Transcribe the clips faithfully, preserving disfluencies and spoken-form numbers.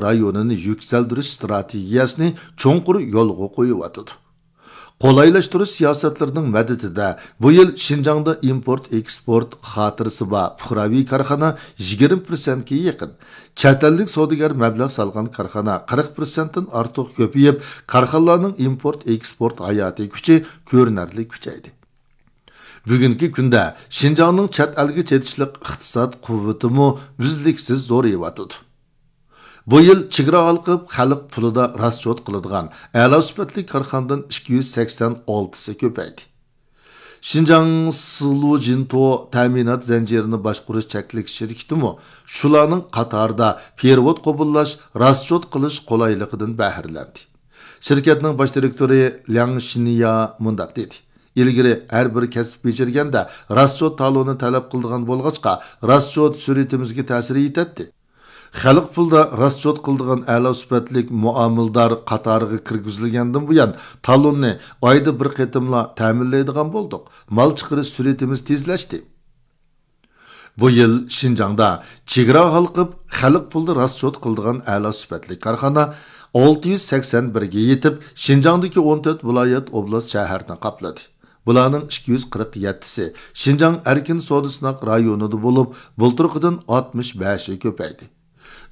رايونىنى يۈكسەلدۈرۈش ئىستراتېگىيەسىنى چوڭقۇر يولغا قويۇۋاتىدۇ. قولايلاشتۇرۇش سىياسەتلىرىنىڭ مەدىتىدە بۇ يىل شىنجاڭدا ئىمپورت ئېكسپورت خاتىرىسى بار پۇقراۋى كارخانا يىگىرمە پىرسەنتكە يېقىن، چەت ئەللىك سودىگەر مەبلەغ سالغان كارخانا قىرىق پىرسەنتتىن ئارتۇق كۆپىيىپ، كارخانىلارنىڭ ئىمپورت ئېكسپورت ھاياتىي كۈچى كۆرۈنەرلىك كۈچەيدى. بۈگۈنكى كۈندە شىنجاڭنىڭ چەت ئەلگە چېتىشلىق ئىقتىساد قۇۋۋىتىمۇ ئۈزلۈكسىز زورىيىۋاتىدۇ. بۇ يىل چېگرا ھالقىپ خەلق پۇلىدا راسچوت قىلىدىغان ئەلا سۈپەتلىك كارخانىدىن ئىككى يۈز سەكسەن ئالتىسى كۆپەيدى. شىنجاڭ سىلۇجىنتو تەمىنات زەنجىرىنى باشقۇرۇش چەكلىك شىركىتىمۇ شۇلارنىڭ قاتارىدا پېرېۋوت قوبۇللاش، راسچوت قىلىش قولايلىقىدىن بەھرىلەندى. شىركەتنىڭ باش دىرېكتورى لياڭ شىنيا مۇنداق دېدى: «ئىلگىرى ھەر بىر كەسىپ بېجىرگەندە راسچوت تالونى تەلەپ قىلىدىغان بولغاچقا، راسچوت سۈرئىتىمىزگە تەسىر يېتەتتى. خەلق پۇلىدا راسچوت قىلىدىغان ئەلا سۈپەتلىك مۇئامىلىدار قاتارىغا كىرگۈزۈلگەندىن بۇيان، تالوننى ئايدا بىر قېتىملا تەمىنلەيدىغان بولدۇق. مال چىقىرىش سۈرئىتىمىز تېزلەشتى.» بۇ يىل شىنجاڭدا چېگرا ھالقىپ خەلق پۇلىدا راسچوت قىلىدىغان ئەلا سۈپەتلىك كارخانا ئالتە يۈز سەكسەن بىرگە يېتىپ، شىنجاڭدىكى ئون تۆت ۋىلايەت، ئوبلاست، شەھەرنى قاپلىدى. بۇلارنىڭ ئىككى يۈز قىرىق يەتتىسى شىنجاڭ ئەركىن سودا سىناق رايونىدا بولۇپ، بۇلتۇرقىدىن ئاتمىش بەشى كۆپەيدى.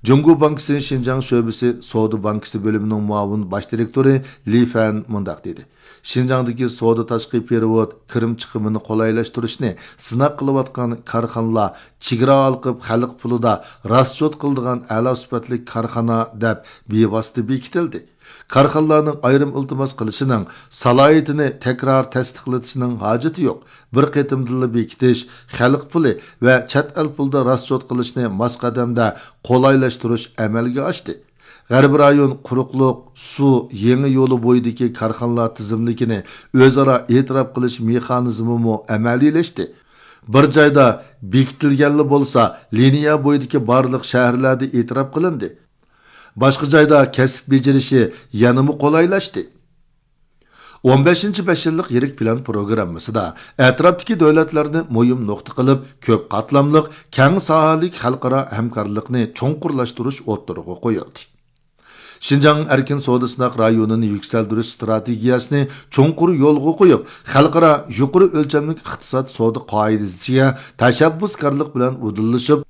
جۇڭگو بانكىسى شىنجاڭ شۆبىسى سودا بانكىسى بۆلۈمىنىڭ مۇئاۋىن باش دىرېكتورى لى فەن مۇنداق دېدى: «شىنجاڭدىكى سودا تاشقى پېرېۋوت كىرىم چىقىمىنى قولايلاشتۇرۇشنى سىناق قىلىۋاتقان كارخانىلار چېگرا ھالقىپ خەلق پۇلىدا راسچوت قىلىدىغان ئەلا سۈپەتلىك كارخانا دەپ بىۋاسىتە بېكىتىلدى. كارخانىلارنىڭ ئايرىم ئىلتىماس قىلىشىنىڭ سالاھىيىتىنى تەكرار تەستىقلىتىشنىڭ ھاجىتى يوق. بىر قېتىمدىلا بېكىتىش، خەلق پۇلى ۋە چەت ئەل پۇلىدا راسچوت قىلىشنى ماس قەدەمدە قولايلاشتۇرۇش ئەمەلگە ئاشتى. غەربىي رايون قۇرۇقلۇق، سۇ، يېڭى يولى بويىدىكى كارخانىلار تىزىملىكىنى ئۆزئارا ئېتىراپ قىلىش مېخانىزمىمۇ ئەمەلىيلەشتى. بىر جايدا بېكىتىلگەنلا بولسا، لىنىيە بويىدىكى بارلىق شەھەرلەردە ئېتىراپ قىلىندى. باشقا جايدا كەسىپ بېجىرىشى يەنىمۇ قولايلاشتى.» ئون بەشىنچى بەش يىللىق يىرىك پىلان پروگراممىسىدا ئەتراپتىكى دۆلەتلەرنى مۇھىم نۇقتا قىلىپ، كۆپ قاتلاملىق، كەڭ ساھەلىك خەلقئارا ھەمكارلىقنى چوڭقۇرلاشتۇرۇش ئوتتۇرىغا قويۇلدى. شىنجاڭ ئەركىن سودا سىناق رايونىنى يۈكسەلدۈرۈش ئىستراتېگىيەسىنى چوڭقۇر يولغا قويۇپ، خەلقئارا يۇقىرى ئۆلچەملىك ئىقتىساد سودا قائىدىسىگە تەشەببۇسكارلىق بىلەن ئۇدۇللىشىپ،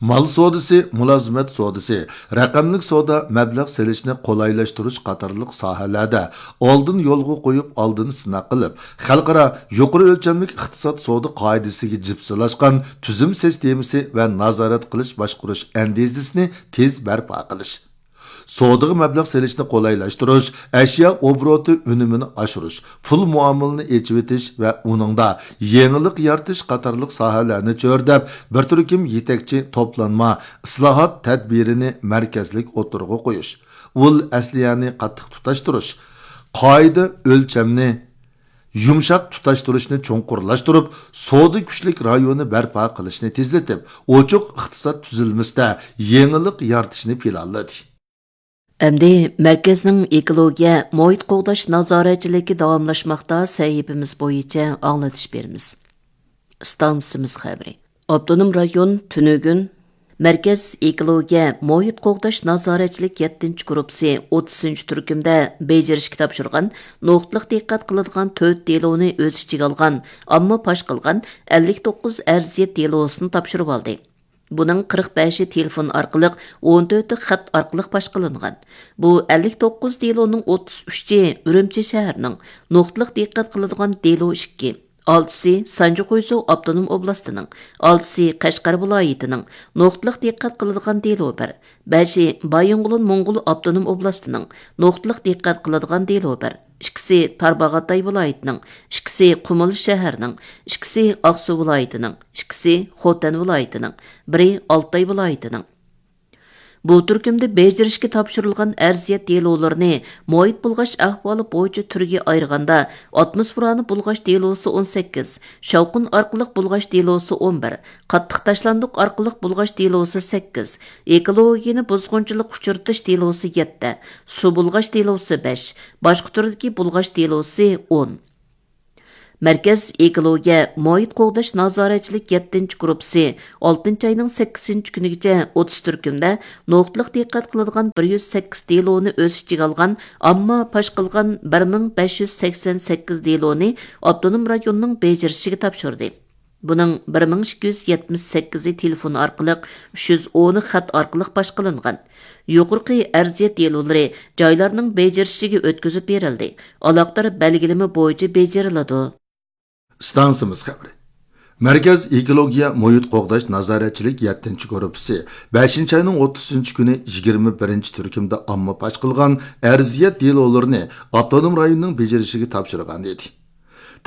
مال سودىسى، مۇلازىمەت سودىسى، رەقەملىك سودا، مەبلەغ سېلىشنى قولايلاشتۇرۇش قاتارلىق ساھەلەردە ئالدىن يولغا قويۇپ، ئالدىن سىناق قىلىپ، خەلقئارا يۇقىرى ئۆلچەملىك ئىقتىساد سودا قائىدىسىگە جىپسىلاشقان تۈزۈم سىستېمىسى ۋە نازارەت قىلىش باشقۇرۇش ئەندىزىسىنى تېز بەرپا قىلىش. سودىغا مەبلەغ سېلىشنى قولايلاشتۇرۇش، ئەشيا ئوبوروتى ئۈنۈمىنى ئاشۇرۇش، پۇل مۇئامىلىنى ئېچىۋېتىش ۋە ئۇنىڭدا يېڭىلىق يارىتىش قاتارلىق ساھەلەرنى چۆرىدەپ، بىر تۈركۈم يېتەكچى توپلانما ئىسلاھات تەدبىرىنى مەركەزلىك ئوتتۇرىغا قويۇش، ئۇل ئەسلىھەنى قاتتىق تۇتاشتۇرۇش، قائىدە ئۆلچەمنى يۇمشاق تۇتاشتۇرۇشنى چوڭقۇرلاشتۇرۇپ، سودا كۈچلۈك رايونى بەرپا قىلىشنى تېزلىتىپ، ئوچۇق ئىقتىساد تۈزۈلمىسىدە يېڭىلىق يارىتىشنى پىلانلىدى. ئەمدى مەركەزنىڭ ئېكولوگىيە، مۇھىت قوغداش نازارەتچىلىكى داۋاملاشماقتا سەھىپىمىز بويىچە ئاڭلىتىش بېرىمىز. ئىستانسىمىز خەۋىرى. ئاپتونوم رايون تۈنۈگۈن مەركەز ئېكولوگىيە، مۇھىت قوغداش نازارەتچىلىك يەتتىنچى گۇرۇپپىسى ئوتتۇزىنچى تۈركۈمدە بېجىرىشكە تاپشۇرغان نۇقتىلىق دىققەت قىلىدىغان تۆت دېلونى ئۆز ئىچىگە ئالغان، ئامما پاش قىلغان ئەللىك توققۇز ئەرزىيەت دېلوسىنى تاپشۇرۇۋالدى. بۇنىڭ قىرىق بەشى تېلېفون ئارقىلىق، ئون تۆتى خەت ئارقىلىق پاش قىلىنغان. بۇ ئەللىك توققۇز دېلونىڭ ئوتتۇز ئۈچى ئۈرۈمچى شەھىرىنىڭ، نۇقتىلىق دىققەت قىلىدىغان دېلو ئىككى، ئالتىسى سانجى خۇيزۇ ئاپتونوم ئوبلاستىنىڭ، ئالتىسى قەشقەر ۋىلايىتىنىڭ، نۇقتىلىق دىققەت قىلىدىغان دېلو بىر، بەشى بايىنغولىن موڭغۇل ئاپتونوم ئوبلاستىنىڭ، نۇقتىلىق دىققەت قىلىدىغان دېلو بىر، ئىككىسى تارباغاتاي ۋىلايىتىنىڭ، ئىككىسى قۇمۇل شەھىرىنىڭ، ئىككىسى ئاقسۇ ۋىلايىتىنىڭ، ئىككىسى خوتەن ۋىلايىتىنىڭ، بىرى ئالتاي ۋىلايىتىنىڭ. بۇ تۈركۈمدە بېجىرىشكە تاپشۇرۇلغان ئەرزىيەت دېلولىرىنى مۇھىت بۇلغاش ئەھۋالى بويىچە تۈرگە ئايرىغاندا، ئاتموسفېرانى بۇلغاش دېلوسى ئون سەككىز، شاۋقۇن ئارقىلىق بۇلغاش دېلوسى ئون بىر، قاتتىق تاشلاندۇق ئارقىلىق بۇلغاش دېلوسى سەككىز، ئېكولوگىيەنى بۇزغۇنچىلىققا ئۇچرىتىش دېلوسى يەتتە، سۇ بۇلغاش دېلوسى بەش، باشقا تۈردىكى بۇلغاش دېلوسى ئون. مەركەز ئېكولوگىيە مۇھىت قوغداش نازارەتچىلىك يەتتىنچى گۇرۇپپىسى ئالتىنچى ئاينىڭ سەككىزىنچى كۈنىگىچە ئوتتۇز تۈركۈمدە نۇقتىلىق دىققەت قىلىدىغان بىر يۈز سەككىز دېلونى ئۆز ئىچىگە ئالغان ئامما پاش قىلغان بىر مىڭ بەش يۈز سەكسەن سەككىز دېلونى ئاپتونوم رايوننىڭ بېجىرىشىگە تاپشۇردى. بۇنىڭ بىر مىڭ ئىككى يۈز يەتمىش سەككىزى تېلېفون ئارقىلىق، ئۈچ يۈز ئونى خەت ئارقىلىق پاش قىلىنغان. يۇقىرىقى ئەرزىيەت دېلولىرى جايلارنىڭ بېجىرىشىگە ئۆتكۈزۈپ بېرىلدى، ئالاقىدار بەلگىلىمە بويىچە بېجىرىلىدۇ. ئىستانسىمىز خەۋىرى. مەركەز ئېكولوگىيە مۇھىت قوغداش نازارەتچىلىك يەتتىنچى گۇرۇپپىسى بەشىنچى ئاينىڭ ئوتتۇزىنچى كۈنى يىگىرمە بىرىنچى تۈركۈمدە ئامما پاش قىلغان ئەرزىيەت دېلولىرىنى ئاپتونوم رايوننىڭ بېجىرىشىگە تاپشۇرغان ئىدى.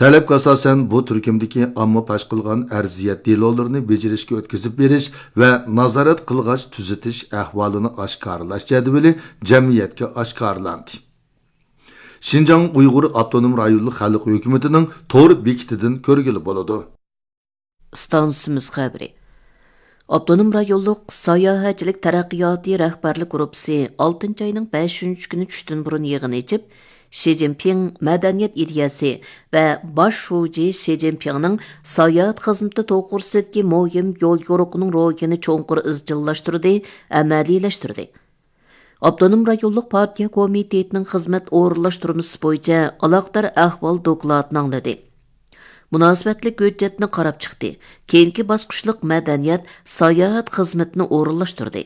تەلەپكە ئاساسەن، بۇ تۈركۈمدىكى ئامما پاش قىلغان ئەرزىيەت دېلولىرىنى بېجىرىشكە ئۆتكۈزۈپ بېرىش ۋە نازارەت قىلغاچ تۈزىتىش ئەھۋالىنى ئاشكارىلاش جەدۋىلى جەمئىيەتكە ئاشكارىلاندى. شىنجاڭ ئۇيغۇر ئاپتونوم رايونلۇق خەلق ھۆكۈمىتىنىڭ تور بېكىتىدىن كۆرگىلى بولىدۇ. ئىستانسىمىز خەۋىرى. ئاپتونوم رايونلۇق ساياھەتچىلىك تەرەققىياتى رەھبەرلىك گۇرۇپپىسى ئالتىنچى ئاينىڭ بەشىنچى كۈنى چۈشتىن بۇرۇن يىغىن ئېچىپ، شى جىنپىڭ مەدەنىيەت ئىدىيەسى ۋە باش شۇجى شى جىنپىڭنىڭ ساياھەت خىزمىتى توغرىسىدىكى مۇھىم يول يورۇقىنىڭ روھىنى چوڭقۇر ئىزچىللاشتۇردى، ئەمەلىيلەشتۈردى. ئاپتونوم رايونلۇق پارتىيە كومىتېتىنىڭ خىزمەت ئورۇنلاشتۇرمىسى بويىچە ئالاقىدار ئەھۋال دوكلاتىنى ئاڭلىدى. مۇناسىۋەتلىك ھۆججەتنى قاراپ چىقتى. كېيىنكى باسقۇچلۇق مەدەنىيەت، ساياھەت خىزمىتىنى ئورۇنلاشتۇردى.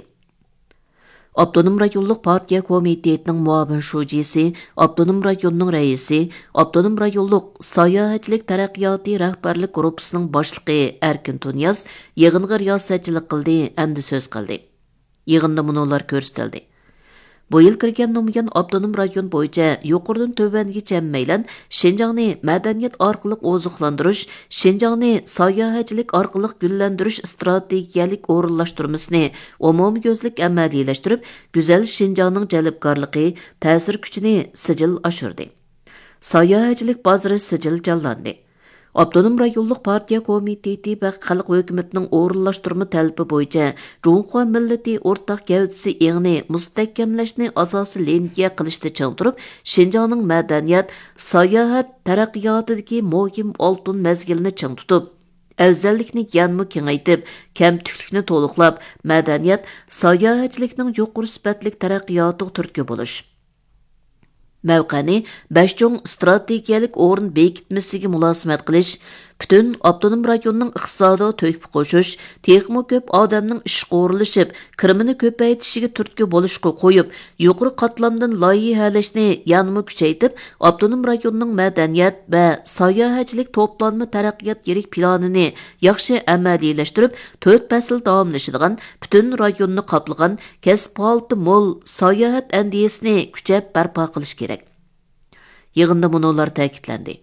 ئاپتونوم رايونلۇق پارتىيە كومىتېتىنىڭ مۇئاۋىن شۇجىسى، ئاپتونوم رايوننىڭ رەئىسى، ئاپتونوم رايونلۇق ساياھەتچىلىك تەرەققىياتى رەھبەرلىك گۇرۇپپىسىنىڭ باشلىقى ئەركىن تۇنىياز يىغىنغا رىياسەتچىلىك قىلدى ھەمدە سۆز قىلدى. يىغىندا مۇنۇلار كۆرسىتىلدى. بۇ يىل كىرگەندىن بۇيان، ئاپتونوم رايون بويىچە يۇقىرىدىن تۆۋەنگىچە ھەممەيلەن شىنجاڭنى مەدەنىيەت ئارقىلىق ئوزۇقلاندۇرۇش، شىنجاڭنى ساياھەتچىلىك ئارقىلىق گۈللەندۈرۈش ئىستراتېگىيەلىك ئورۇنلاشتۇرمىسىنى ئومۇميۈزلۈك ئەمەلىيلەشتۈرۈپ، گۈزەل شىنجاڭنىڭ جەلپكارلىقى، تەسىر كۈچىنى سىجىل ئاشۇردى. ساياھەتچىلىك بازىرى سىجىل جانلاندى. ئاپتونوم رايونلۇق پارتىيە كومىتېتى ۋە خەلق ھۆكۈمىتىنىڭ ئورۇنلاشتۇرما تەلىپى بويىچە جۇڭخۇا مىللىتى ئورتاق گەۋدىسى ئېڭىنى مۇستەھكەملەشنى ئاساسىي لىنىيە قىلىشتا چىڭ تۇرۇپ، شىنجاڭنىڭ مەدەنىيەت، ساياھەت تەرەققىياتىدىكى مۇھىم ئالتۇن مەزگىلىنى چىڭ تۇتۇپ، ئەۋزەللىكنى يەنىمۇ كېڭەيتىپ، كەمتۈكلۈكنى تولۇقلاپ، مەدەنىيەت، ساياھەتچىلىكنىڭ يۇقىرى سۈپەتلىك تەرەققىياتىغا تۈرتكە بولۇش. مەۋقەنى بەش چوڭ ئىستراتېگىيەلىك ئورۇن بېكىتمىسىگە مۇلازىمەت قىلىش، پۈتۈن ئاپتونوم رايوننىڭ ئىقتىسادىغا تۆھپە قوشۇش، تېخىمۇ كۆپ ئادەمنىڭ ئىشقا ئورۇنلىشىپ، كىرىمىنى كۆپەيتىشىگە تۈرتكە بولۇشقا قويۇپ، يۇقىرى قاتلامدىن لايىھەلەشنى يەنىمۇ كۈچەيتىپ، ئاپتونوم رايوننىڭ مەدەنىيەت ۋە ساياھەتچىلىك توپلانما تەرەققىيات يىرىك پىلانىنى ياخشى ئەمەلىيلەشتۈرۈپ، تۆت پەسىل داۋاملىشىدىغان، پۈتۈن رايوننى قاپلىغان، كەسىپ ھالىتى مول ساياھەت ئەندىزىسىنى كۈچەپ بەرپا قىلىش كېرەك. يىغىندا مۇنۇلار تەكىتلەندى.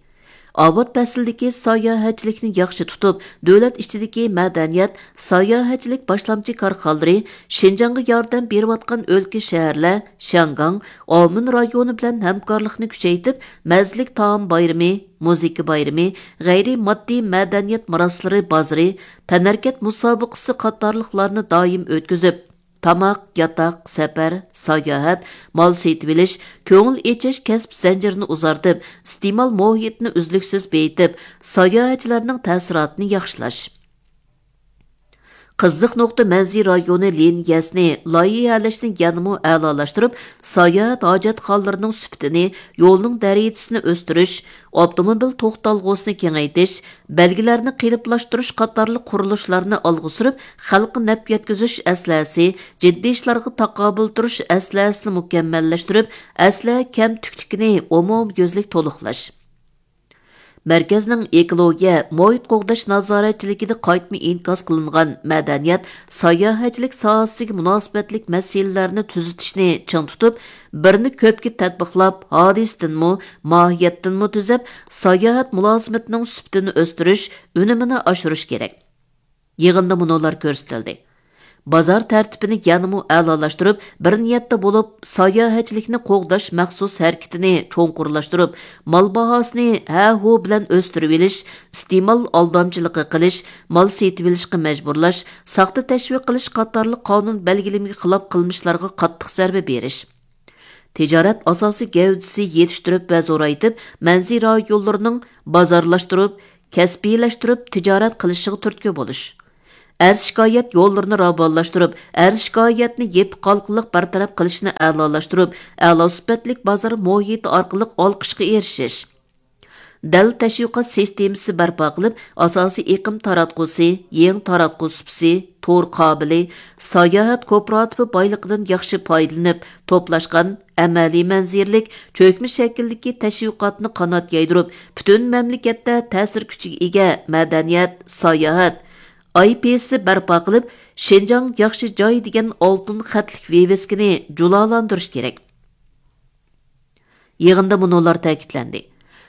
ئاۋات پەسلىدىكى ساياھەتچىلىكنى ياخشى تۇتۇپ، دۆلەت ئىچىدىكى مەدەنىيەت، ساياھەتچىلىك باشلامچى كارخانىلىرى، شىنجاڭغا ياردەم بېرىۋاتقان ئۆلكە، شەھەرلەر، شياڭگاڭ، ئاۋمېن رايونى بىلەن ھەمكارلىقنى كۈچەيتىپ، مەززىلىك تائام بايرىمى، مۇزىكا بايرىمى، غەيرىي ماددىي مەدەنىيەت مىراسلىرى بازىرى، تەنھەرىكەت مۇسابىقىسى قاتارلىقلارنى دائىم ئۆتكۈزۈپ، تاماق، ياتاق، سەپەر، ساياھەت، مال سېتىۋېلىش، كۆڭۈل ئېچىش كەسىپ زەنجىرىنى ئۇزارتىپ، ئىستېمال مۇھىتىنى ئۈزلۈكسىز بېيىتىپ، ساياھەتچىلەرنىڭ تەسىراتىنى ياخشىلاش. قىزىق نۇقتا مەنزىرە رايونى لىنىيەسىنى لايىھەلەشنى يەنىمۇ ئەلالاشتۇرۇپ، ساياھەت ھاجەتخانىلىرىنىڭ سۈپىتىنى، يولنىڭ دەرىجىسىنى ئۆستۈرۈش، ئاپتوموبىل توختالغۇسىنى كېڭەيتىش، بەلگىلەرنى قېلىپلاشتۇرۇش قاتارلىق قۇرۇلۇشلارنى ئالغا سۈرۈپ، خەلققە نەپ يەتكۈزۈش ئەسلىھەسى، جىددىي ئىشلارغا تاقابىل تۇرۇش ئەسلىھەسىنى مۇكەممەللەشتۈرۈپ، ئەسلىھە كەمتۈكلۈكىنى ئومۇميۈزلۈك تولۇقلاش. مەركەزنىڭ ئېكولوگىيە، مۇھىت قوغداش نازارەتچىلىكىدە قايتما ئىنكاس قىلىنغان مەدەنىيەت، ساياھەتچىلىك ساھەسىگە مۇناسىۋەتلىك مەسىلىلەرنى تۈزىتىشنى چىڭ تۇتۇپ، بىرنى كۆپكە تەتبىقلاپ، ھادىسىدىنمۇ، ماھىيەتتىنمۇ تۈزەپ، ساياھەت مۇلازىمىتىنىڭ سۈپىتىنى ئۆستۈرۈش، ئۈنۈمىنى ئاشۇرۇش كېرەك. يىغىندا مۇنۇلار كۆرسىتىلدى. بازار تەرتىپىنى يەنىمۇ ئەلالاشتۇرۇپ، بىر نىيەتتە بولۇپ، ساياھەتچىلىكنى قوغداش مەخسۇس ھەرىكىتىنى چوڭقۇرلاشتۇرۇپ، مال باھاسىنى ھە-ھۇ بىلەن ئۆستۈرۈۋېلىش، ئىستېمال ئالدامچىلىقى قىلىش، مال سېتىۋېلىشقا مەجبۇرلاش، ساختا تەشۋىق قىلىش قاتارلىق قانۇن بەلگىلىمىگە خىلاپ قىلمىشلارغا قاتتىق زەربە بېرىش. تىجارەت ئاساسىي گەۋدىسى يېتىشتۈرۈپ ۋە زورايتىپ، مەنزىرە رايونلىرىنىڭ بازارلاشتۇرۇپ، كەسپىيلەشتۈرۈپ تىجارەت قىلىشىغا تۈرتكە بولۇش. ئەرز-شىكايەت يوللىرىنى راۋانلاشتۇرۇپ، ئەرز-شىكايەتنى يېپىق ھالقىلىق بىر تەرەپ قىلىشنى ئەلالاشتۇرۇپ، ئەلا سۈپەتلىك بازار مۇھىتى ئارقىلىق ئالقىشقا ئېرىشىش. دەل تەشۋىقات سىستېمىسى بەرپا قىلىپ، ئاساسىي ئېقىم تاراتقۇسى، يېڭى تاراتقۇ سۇپىسى، تور قابىلى، ساياھەت كوپىراتىپى بايلىقىدىن ياخشى پايدىلىنىپ، توپلاشقان، ئەمەلىي مەنزىرىلىك، چۆكمە شەكىلدىكى تەشۋىقاتنى قانات يايدۇرۇپ، پۈتۈن مەملىكەتتە تەسىر كۈچىگە ئىگە مەدەنىيەت، ساياھەت، ئاي پى ئېس بەرپا قىلىپ، شىنجاڭ ياخشى جاي دېگەن ئالتۇن خەتلىك ۋىۋىسكىنى جۇلالاندۇرۇش كېرەك. يىغىندا مۇنۇلار تەكىتلەندى: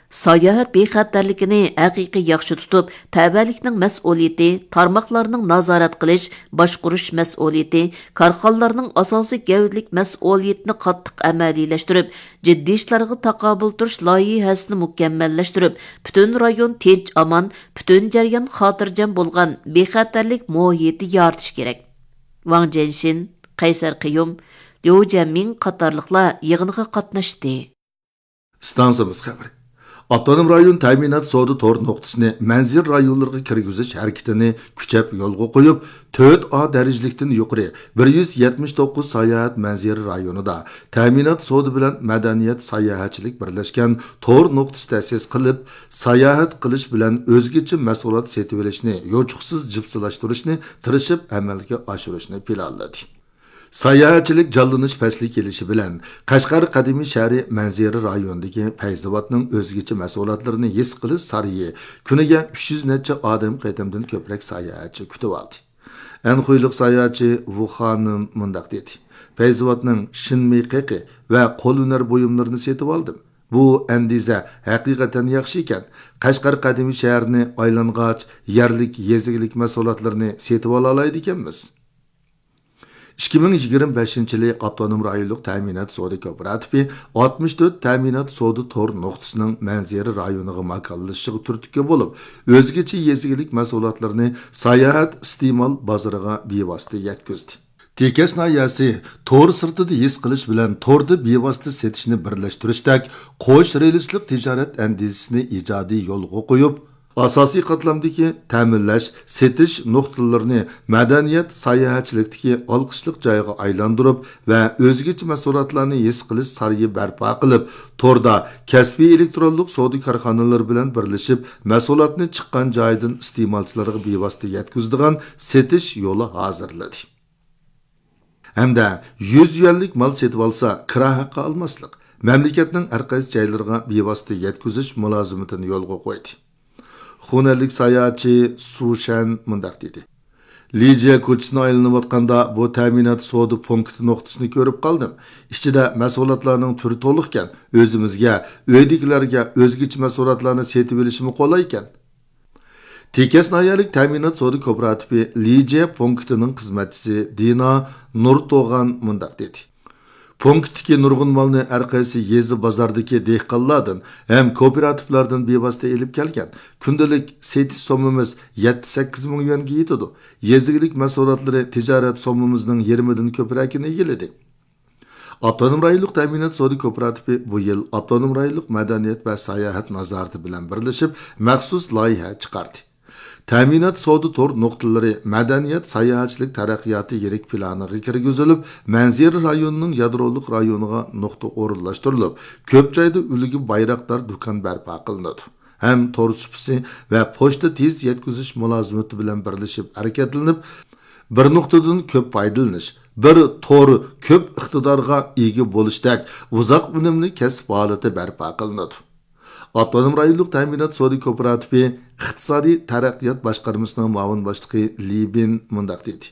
ساياھەت بىخەتەرلىكىنى ھەقىقىي ياخشى تۇتۇپ، تەۋەلىكنىڭ مەسئۇلىيىتى، تارماقلارنىڭ نازارەت قىلىش، باشقۇرۇش مەسئۇلىيىتى، كارخانىلارنىڭ ئاساسىي گەۋدىلىك مەسئۇلىيىتىنى قاتتىق ئەمەلىيلەشتۈرۈپ، جىددىي ئىشلارغا تاقابىل تۇرۇش لايىھەسىنى مۇكەممەللەشتۈرۈپ، پۈتۈن رايون تىنچ-ئامان، پۈتۈن جەريان خاتىرجەم بولغان بىخەتەرلىك مۇھىتى يارىتىش كېرەك. ۋاڭ جيەنشىن، قەيسەر قىيۇم، ليۇ جيەنمىڭ قاتارلىقلار يىغىنغا قاتناشتى. ئىستانسىمىز خەۋىرى. ئاپتونوم رايون تەمىنات سودا تور نۇقتىسىنى مەنزىرە رايونلىرىغا كىرگۈزۈش ھەرىكىتىنى كۈچەپ يولغا قويۇپ، تۆت ئا دەرىجىلىكتىن يۇقىرى بىر يۈز يەتمىش توققۇز ساياھەت مەنزىرە رايونىدا تەمىنات سودا بىلەن مەدەنىيەت ساياھەتچىلىك بىرلەشكەن تور نۇقتىسى تەسىس قىلىپ، ساياھەت قىلىش بىلەن ئۆزگىچە مەھسۇلات سېتىۋېلىشنى يوچۇقسىز جىپسىلاشتۇرۇشنى تىرىشىپ ئەمەلگە ئاشۇرۇشنى پىلانلىدى. ساياھەتچىلىك جانلىنىش پەسلى كېلىشى بىلەن، قەشقەر قەدىمىي شەھىرى مەنزىرە رايونىدىكى پەيزىۋاتنىڭ ئۆزگىچە مەھسۇلاتلىرىنى ھېس قىلىش سارىيى كۈنىگە ئۈچ يۈز نەچچە ئادەم قېتىمدىن كۆپرەك ساياھەتچى كۈتۈۋالدى. ئەنخۇيلۇق ساياھەتچى ۋۇ خانىم مۇنداق دېدى: پەيزىۋاتنىڭ شىنمېي قېقى ۋە قول ھۈنەر بۇيۇملىرىنى سېتىۋالدىم. بۇ ئەندىزە ھەقىقەتەن ياخشى ئىكەن. قەشقەر قەدىمىي شەھىرىنى ئايلانغاچ، يەرلىك يېزا ئىگىلىك مەھسۇلاتلىرىنى سېتىۋالالايدىكەنمىز. ئىككى مىڭ يىگىرمە بەشىنچى يىلى ئاپتونوم رايونلۇق تەمىنات سودا كوپىراتىپى ئاتمىش تۆت تەمىنات سودا تور نۇقتىسىنىڭ مەنزىرە رايونىغا ماكانلىشىشىغا تۈرتكە بولۇپ، ئۆزگىچە يېزا ئىگىلىك مەھسۇلاتلىرىنى ساياھەت ئىستېمال بازىرىغا بىۋاسىتە يەتكۈزدى. تېكەس ناھىيەسى تور سىرتىدا ھېس قىلىش بىلەن توردا بىۋاسىتە سېتىشنى بىرلەشتۈرۈشتەك قوش رېلىسلىق تىجارەت ئەندىزىسىنى ئىجادىي يولغا قويۇپ، ئاساسىي قاتلامدىكى تەمىنلەش، سېتىش نۇقتىلىرىنى مەدەنىيەت، ساياھەتچىلىكتىكى ئالقىشلىق جايغا ئايلاندۇرۇپ ۋە ئۆزگىچە مەھسۇلاتلارنى ھېس قىلىش سارىيى بەرپا قىلىپ، توردا كەسپىي ئېلېكترونلۇق سودا كارخانىلىرى بىلەن بىرلىشىپ، مەھسۇلاتنى چىققان جايىدىن ئىستېمالچىلارغا بىۋاسىتە يەتكۈزىدىغان سېتىش يولى ھازىرلىدى. ھەمدە يۈز يۈەنلىك مال سېتىۋالسا، كىرا ھەققى ئالماسلىق، مەملىكەتنىڭ ھەرقايسى جايلىرىغا بىۋاسىتە يەتكۈزۈش مۇلازىمىتىنى يولغا قويدى. خۇنەنلىك ساياھەتچى سۇ شەن مۇنداق دېدى: لىجيە كوچىسىنى ئايلىنىۋاتقاندا، بۇ تەمىنات سودا پونكىتى نۇقتىسىنى كۆرۈپ قالدىم. ئىچىدە مەھسۇلاتلارنىڭ تۈرى تولۇقكەن، ئۆزىمىزگە، ئۆيدىكىلەرگە ئۆزگىچە مەھسۇلاتلارنى سېتىۋېلىشمۇ قولايكەن. تېكەس ناھىيەلىك تەمىنات سودا كوپىراتىپى لىجيە پونكىتىنىڭ خىزمەتچىسى دىنا نۇرتوغان مۇنداق دېدى: پونكىتتىكى نۇرغۇن مالنى ھەرقايسى يېزا بازاردىكى دېھقانلاردىن ھەم كوپىراتىپلاردىن بىۋاسىتە ئېلىپ كەلگەن. كۈندىلىك سېتىش سوممىمىز يەتتە سەككىز مىڭ يۈەنگە يېتىدۇ. يېزا ئىگىلىك مەھسۇلاتلىرى تىجارەت سوممىمىزنىڭ يېرىمىدىن كۆپرەكىنى ئىگىلىدى. ئاپتونوم رايونلۇق تەمىنات سودا كوپىراتىپى بۇ يىل ئاپتونوم رايونلۇق مەدەنىيەت ۋە ساياھەت نازارىتى بىلەن بىرلىشىپ مەخسۇس لايىھە چىقاردى. تەمىنات سودا تور نۇقتىلىرى مەدەنىيەت ساياھەتچىلىك تەرەققىياتى يىرىك پىلانىغا كىرگۈزۈلۈپ، مەنزىرە رايونىنىڭ يادرولۇق رايونىغا نۇقتا ئورۇنلاشتۇرۇلۇپ، كۆپ جايدا ئۈلگە بايراقدار دۇكان بەرپا قىلىنىدۇ. ھەم تور سۇپىسى ۋە پوچتا تېز يەتكۈزۈش مۇلازىمىتى بىلەن بىرلىشىپ ھەرىكەتلىنىپ، بىر نۇقتىدىن كۆپ پايدىلىنىش، بىر تور كۆپ ئىقتىدارغا ئىگە بولۇشتەك ئۇزاق ئۈنۈملۈك كەسىپ ھالىتى بەرپا قىلىنىدۇ. ئاپتونوم رايونلۇق تەمىنات سودا كوپىراتىپى ئىقتىسادىي تەرەققىيات باشقارمىسىنىڭ مۇئاۋىن باشلىقى لى بىن مۇنداق دېدى: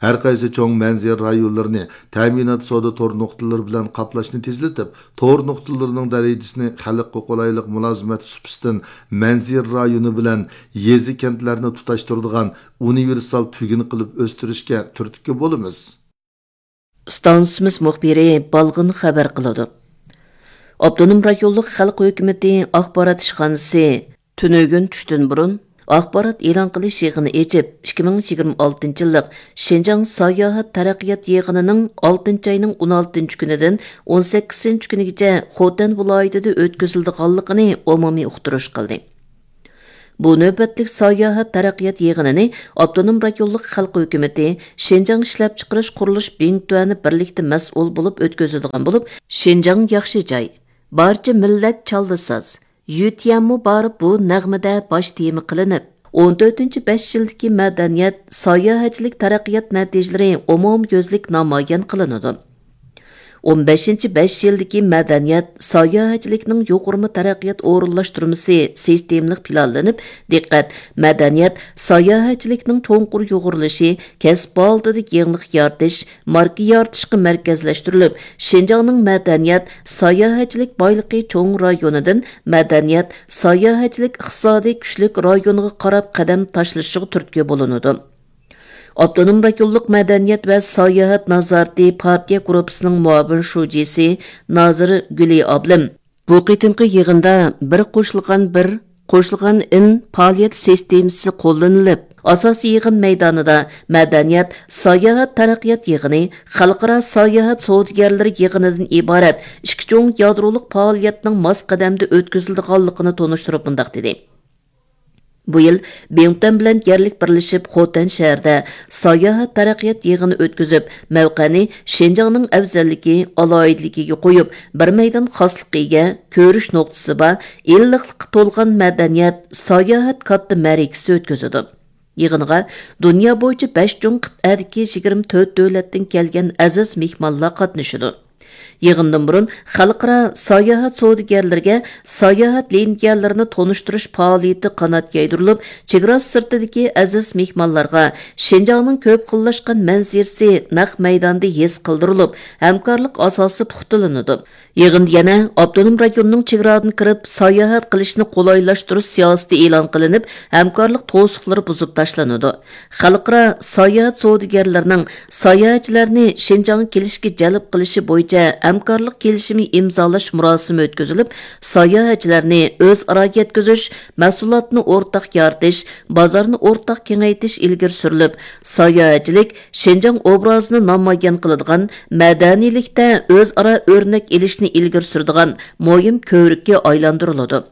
ھەرقايسى چوڭ مەنزىرە رايونلىرىنى تەمىنات سودا تور نۇقتىلىرى بىلەن قاپلاشنى تېزلىتىپ، تور نۇقتىلىرىنىڭ دەرىجىسىنى خەلققە قولايلىق مۇلازىمەت سۇپىسىدىن مەنزىرە رايونى بىلەن يېزا، كەنتلەرنى تۇتاشتۇرىدىغان ئۇنىۋېرسال تۈگۈن قىلىپ ئۆستۈرۈشكە تۈرتكە بولىمىز. ئىستانسىمىز مۇخبىرى بالغىن خەۋەر قىلىدۇ. ئاپتونوم رايونلۇق خەلق ھۆكۈمىتى ئاخبارات ئىشخانىسى تۈنۈگۈن چۈشتىن بۇرۇن ئاخبارات ئېلان قىلىش يىغىنى ئېچىپ، ئىككى مىڭ يىگىرمە ئالتىنچى يىللىق شىنجاڭ ساياھەت تەرەققىيات يىغىنىنىڭ ئالتىنچى ئاينىڭ ئون ئالتىنچى كۈنىدىن ئون سەككىزىنچى كۈنىگىچە خوتەن ۋىلايىتىدە ئۆتكۈزۈلىدىغانلىقىنى ئومۇمىي ئۇقتۇرۇش قىلدى. بۇ نۆۋەتلىك ساياھەت تەرەققىيات يىغىنىنى ئاپتونوم رايونلۇق خەلق ھۆكۈمىتى، شىنجاڭ ئىشلەپچىقىرىش قۇرۇلۇش بىڭتۈەنى بىرلىكتە مەسئۇل بولۇپ ئۆتكۈزىدىغان بولۇپ، شىنجاڭ ياخشى جاي، بارچە مىللەت چاللا ساز، يۈتيەنمۇ بار بۇ نەغمىدە باش تېما قىلىنىپ، ئون تۆتىنچى بەش يىلدىكى مەدەنىيەت، ساياھەتچىلىك تەرەققىيات نەتىجىلىرى ئومۇميۈزلۈك نامايان قىلىنىدۇ. ئون بەشىنچى بەش يىلدىكى مەدەنىيەت، ساياھەتچىلىكنىڭ يۇغۇرما تەرەققىيات ئورۇنلاشتۇرمىسى سىستېمىلىق پىلانلىنىپ، دىققەت مەدەنىيەت، ساياھەتچىلىكنىڭ چوڭقۇر يۇغۇرۇلۇشى، كەسىپ ھالىتىدە يېڭىلىق يارىتىش، ماركا يارىتىشقا مەركەزلەشتۈرۈلۈپ، شىنجاڭنىڭ مەدەنىيەت، ساياھەتچىلىك بايلىقى چوڭ رايونىدىن مەدەنىيەت، ساياھەتچىلىك ئىقتىسادىي كۈچلۈك رايونغا قاراپ قەدەم تاشلىشىغا تۈرتكە بولۇنىدۇ. ئاپتونوم رايونلۇق مەدەنىيەت ۋە ساياھەت نازارىتى پارتىيە گۇرۇپپىسىنىڭ مۇئاۋىن شۇجىسى نازىر گۈلى ئابلىم بۇ قېتىمقى يىغىندا بىر قوشۇلغان بىر، قوشۇلغان ئىن پائالىيەت سىستېمىسى قوللىنىلىپ، ئاساسىي يىغىن مەيدانىدا مەدەنىيەت، ساياھەت تەرەققىيات يىغىنى، خەلقئارا ساياھەت سودىگەرلىرى يىغىنىدىن ئىبارەت ئىككى چوڭ يادرولۇق پائالىيەتنىڭ ماس قەدەمدە ئۆتكۈزۈلىدىغانلىقىنى تونۇشتۇرۇپ مۇنداق دېدى. بۇ يىل بىڭتۈەن بىلەن يەرلىك بىرلىشىپ خوتەن شەھىرىدە ساياھەت تەرەققىيات يىغىنى ئۆتكۈزۈپ، مەۋقەنى شىنجاڭنىڭ ئەۋزەللىكى، ئالاھىدىلىكىگە قويۇپ، بىر مەيدان خاسلىققا ئىگە، كۆرۈش نۇقتىسى بار، ئىللىقلىققا تولغان مەدەنىيەت، ساياھەت كاتتا مەرىكىسى ئۆتكۈزىدۇ. يىغىنغا دۇنيا بويىچە بەش چوڭ قىتئەدىكى يىگىرمە تۆت دۆلەتتىن كەلگەن ئەزىز مېھمانلار قاتنىشىدۇ. يىغىندىن بۇرۇن خەلقئارا ساياھەت سودىگەرلىرىگە ساياھەت لىنىيەلىرىنى تونۇشتۇرۇش پائالىيىتى قانات يايدۇرۇلۇپ، چېگرا سىرتىدىكى ئەزىز مېھمانلارغا شىنجاڭنىڭ كۆپ خىللاشقان مەنزىرىسى نەق مەيداندا ھېس قىلدۇرۇلۇپ، ھەمكارلىق ئاساسى پۇختىلىنىدۇ. يىغىندا يەنە ئاپتونوم رايوننىڭ چېگرادىن كىرىپ ساياھەت قىلىشنى قولايلاشتۇرۇش سىياسىتى ئېلان قىلىنىپ، ھەمكارلىق توسۇقلىرى بۇزۇپ تاشلىنىدۇ. خەلقئارا ساياھەت سودىگەرلىرىنىڭ ساياھەتچىلەرنى شىنجاڭغا كېلىشكە جەلپ قىلىشى بويىچە ھەمكارلىق كېلىشىمى ئىمزالاش مۇراسىمى ئۆتكۈزۈلۈپ، ساياھەتچىلەرنى ئۆزئارا يەتكۈزۈش، مەھسۇلاتنى ئورتاق يارىتىش، بازارنى ئورتاق كېڭەيتىش ئىلگىرى سۈرۈلۈپ، ساياھەتچىلىك شىنجاڭ ئوبرازىنى نامايان قىلىدىغان، مەدەنىيلىكتە ئۆزئارا ئۆرنەك ئېلىشنى ئىلگىرى سۈرىدىغان مۇھىم كۆۋرۈككە ئايلاندۇرۇلىدۇ.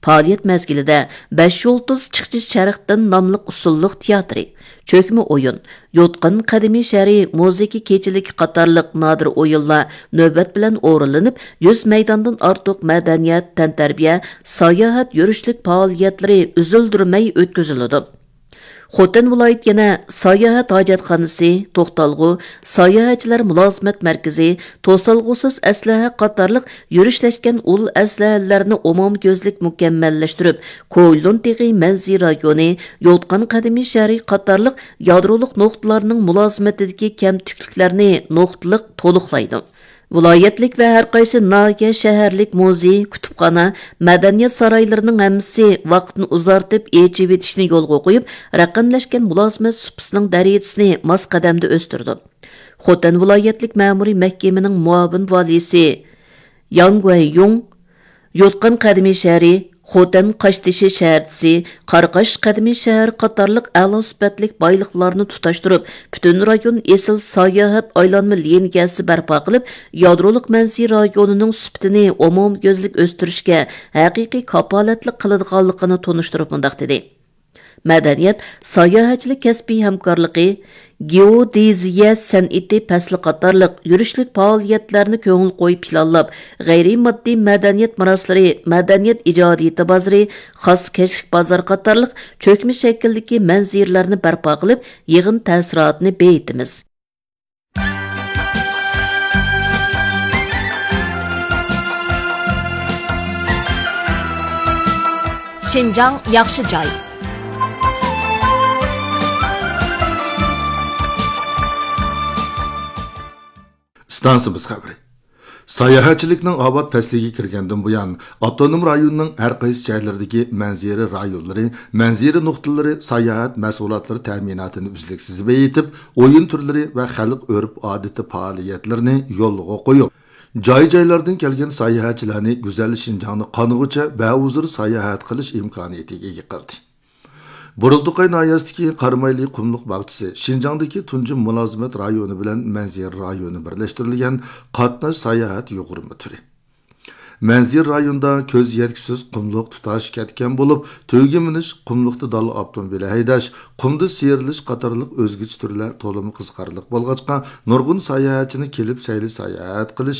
پائالىيەت مەزگىلىدە بەش يۇلتۇز چىقچى شەرقتىن ناملىق ئۇسسۇللۇق تىياتىرى، چۆكمە ئويۇن، يوتقان قەدىمىي شەھىرى مۇزىكا كېچىلىكى قاتارلىق نادىر ئويۇنلار نۆۋەت بىلەن ئورۇنلىنىپ، يۈز مەيداندىن ئارتۇق مەدەنىيەت، تەنتەربىيە، ساياھەت، يۈرۈشلۈك پائالىيەتلىرى ئۈزۈلدۈرمەي ئۆتكۈزۈلىدۇ. خوتەن ۋىلايىتى يەنە ساياھەت ھاجەتخانىسى، توختالغۇ، ساياھەتچىلەر مۇلازىمەت مەركىزى، توسالغۇسىز ئەسلىھە قاتارلىق يۈرۈشلەشكەن ئۇل ئەسلىھەلەرنى ئومۇميۈزلۈك مۇكەممەللەشتۈرۈپ، كويلۇن تېغى مەنزىرە رايونى، يوتقان قەدىمىي شەھىرى قاتارلىق يادرولۇق نۇقتىلارنىڭ مۇلازىمىتىدىكى كەمتۈكلۈكلەرنى نۇقتىلىق تولۇقلايدۇ. ۋىلايەتلىك ۋە ھەر قايسى ناھىيە، شەھەرلىك مۇزېي، كۇتۇپخانا، مەدەنىيەت سارايلىرىنىڭ ھەممىسى ۋاقىتنى ئۇزارتىپ ئېچىۋېتىشنى يولغا قويۇپ، رەقەملەشكەن مۇلازىمەت سۇپىسىنىڭ دەرىجىسىنى ماس قەدەمدە ئۆستۈرىدۇ. خوتەن ۋىلايەتلىك مەمۇرىي مەھكىمىنىڭ مۇئاۋىن ۋالىيسى ياڭ گۇەنيۇڭ، يوتقان قەدىمىي شەھىرى، خوتەن قاشتېشى شەھەرچىسى، قاراقاش قەدىمىي شەھەر قاتارلىق ئەلا سۈپەتلىك بايلىقلارنى تۇتاشتۇرۇپ، پۈتۈن رايون ئېسىل ساياھەت ئايلانما لىنىيەسى بەرپا قىلىپ، يادرولۇق مەنزىرە رايونىنىڭ سۈپىتىنى ئومۇميۈزلۈك ئۆستۈرۈشكە ھەقىقىي كاپالەتلىك قىلىدىغانلىقىنى تونۇشتۇرۇپ مۇنداق دېدى: مەدەنىيەت، ساياھەتچىلىك كەسپىي ھەمكارلىقى، گېئودېزىيە سەنئىتى پەسلى قاتارلىق يۈرۈشلۈك پائالىيەتلەرنى كۆڭۈل قويۇپ پىلانلاپ، غەيرىي ماددىي مەدەنىيەت مىراسلىرى، مەدەنىيەت ئىجادىيىتى بازىرى، خاسكەشلىك بازار قاتارلىق چۆكمە شەكىلدىكى مەنزىرىلەرنى بەرپا قىلىپ، يىغىن تەسىراتىنى بېيىتىمىز. شىنجاڭ ياخشى جاي. ئىستانسىمىز خەۋىرى. ساياھەتچىلىكنىڭ ئاۋات پەسلىگە كىرگەندىن بۇيان، ئاپتونوم رايوننىڭ ھەر قايسى جايلىرىدىكى مەنزىرە رايونلىرى، مەنزىرە نۇقتىلىرى ساياھەت مەھسۇلاتلىرى تەمىناتىنى ئۈزلۈكسىز بېيىتىپ، ئويۇن تۈرلىرى ۋە خەلق ئۆرپ-ئادىتى پائالىيەتلىرىنى يولغا قويۇپ، جاي-جايلاردىن كەلگەن ساياھەتچىلەرنى گۈزەل شىنجاڭنى قانغۇچە بەھۇزۇر ساياھەت قىلىش ئىمكانىيىتىگە ئىگە قىلدى. بۇرۇلدىقاي ناھىيەسىدىكى قارامايلى قۇملۇق باغچىسى شىنجاڭدىكى تۇنجى مۇلازىمەت رايونى بىلەن مەنزىرە رايونى بىرلەشتۈرۈلگەن قاتناش ساياھەت يۇغۇرما تۈرى. مەنزىرە رايونىدا كۆز يەتكۈسىز قۇملۇق تۇتاش كەتكەن بولۇپ، تۈگە مىنىش، قۇملۇقتا داللا ئاپتوموبىلى ھەيدەش، قۇمدا سىيرىلىش قاتارلىق ئۆزگىچە تۈرلەر تولىمۇ قىزىقارلىق بولغاچقا، نۇرغۇن ساياھەتچىنى كېلىپ سەيلە ساياھەت قىلىش